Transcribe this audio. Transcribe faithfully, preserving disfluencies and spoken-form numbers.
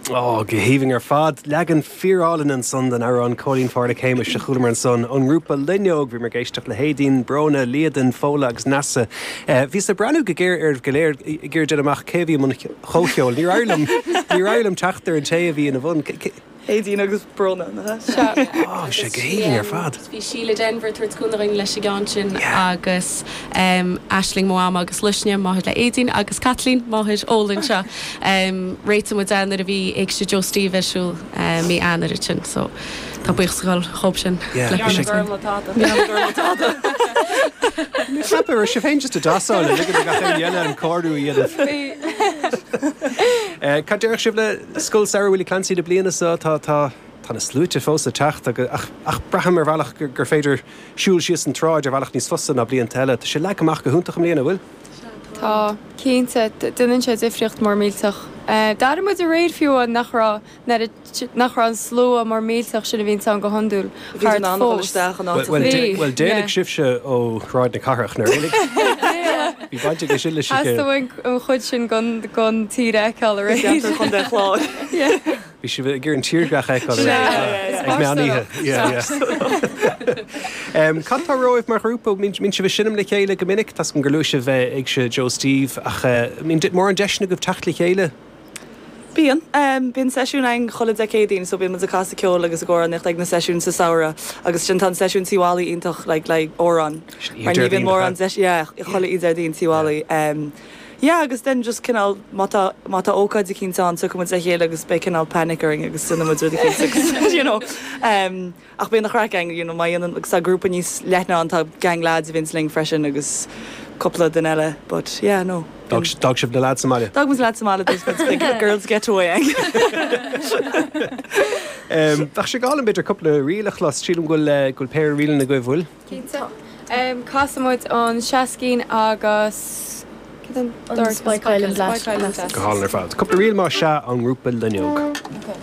Ó, go haoibhinn ar fad. Leagan fíorálainn ansan den amhrán Cóilín Pháraic Shéamais a chualamar ansan ón ngrúpa Loinneog. Bhíomar ag éisteacht le hAedín, Bróna, Líadan, Fódhla agus Neasa. Bhíos ag breathnú go géar oraibh go léir ag iarraidh déanamh amach cé a bhí i mbun comhcheoil. Níor éirigh liom, níor éirigh liom teacht ar an té a bhí ina bhun. Aedín agus Bróna, nach ea? Sea. Ó, sé go haoibhinn ar fad. Bhí Síle Denvir ag tabhairt cúnamh dúinn leis an gceann sin agus Aisling, mo mham, agus Luisne, máthair le Aedín, agus Caitlín, máthair Fhódhla anseo. Réitigh muid é nuair a bhí Éigse Joe Steve ar siúl mí Eanáir ansin so tá buíochas ag dul dhób sin. Yeah, Ní bhí sé. Gorm le tada. Ní gorm le tada. Ní cheapaim, raibh sibh féin just ag damhsáil, ag ligean do gach éinne eile an cóiriú a dhéanamh. Bhí. Cad déarfadh sibh le Scoil Samhraidh Willie Clancy na bliana seo? Tá, tá, tá na sluaite fós ag teacht agus, ach, ach braithim ar bhealach gur, gur féidir siúl síos an tsráid ar bhealach níos fusa ná blianta eile. Tá sé leagtha amach go hiontach i mbliana, an bhfuil? Tá, cinnte. Déanann sé difríocht mór millteach. D'airigh muid aréir fiú amháin nach raibh an oiread, nach raibh an slua mór millteach sin a bhíonns ann go hiondúil thart fós. Bhuel, Bhí, bhuel, d'éalaigh yeah. sibhse ó Shráid na Cathrach, nár éalaigh? Bhí baint aige sin leis an Theastaigh uainn an chuid sin den, den tír a fheiceáil aréir. Ceantar Chontae an Chláir. Yeah. Bhí sibh ag iarraidh an tírdhreach a fheiceáil Sea, aréir, is ag meán oíche. spaisteoireacht. Yeah, yeah. Cad tá romhaibh mar ghrúpa? Mbíonn sibh ag seinm le chéile go minic? Tá's agam gur luaigh sibh Éigse Joe Steve ach mbíonn mórán deiseanna agaibh teacht le chéile? Bíonn. Bíonn seisiún againn chuile Dé Céadaoin so bíonn muid ag casadh ceoil agus ag amhránaíocht ag na seisiúin sa samhradh agus sin tá an seisiún Tí Mholly iontach like le amhráin mar ní bhíonn mórán deis yeah chuile oíche Déardaoin Tí Mholly. Yeah agus then just cineál má tá má tá ócáid eicínt ann tiocfaidh muid le chéile agus beidh cineál panic orainn agus déanfaidh muid rud eicínt agus you know ach bíonn an chraic againn you know má dhéanann agus tá grúpa níos leithne ann tá gang lads a bhíonns linn freisin agus cúpla duine eile but yeah no. D'fhág sibh na lads sa mbaile? D'fhág muid na lads sa mbaile there's big girls getaway againn. Bheadh sé go hálainn b'fhéidir cúpla ríl a chlos, sílim go bhfuil go bhfuil péire ríleanna agaibh, bhfuil? Cinnte. Casfaidh muid an Seascín agus cad an dara Spike Island Lass. Go hálainn ar fad. Cúpla ríl más ea ón ngrúpa Loinneog. Okay.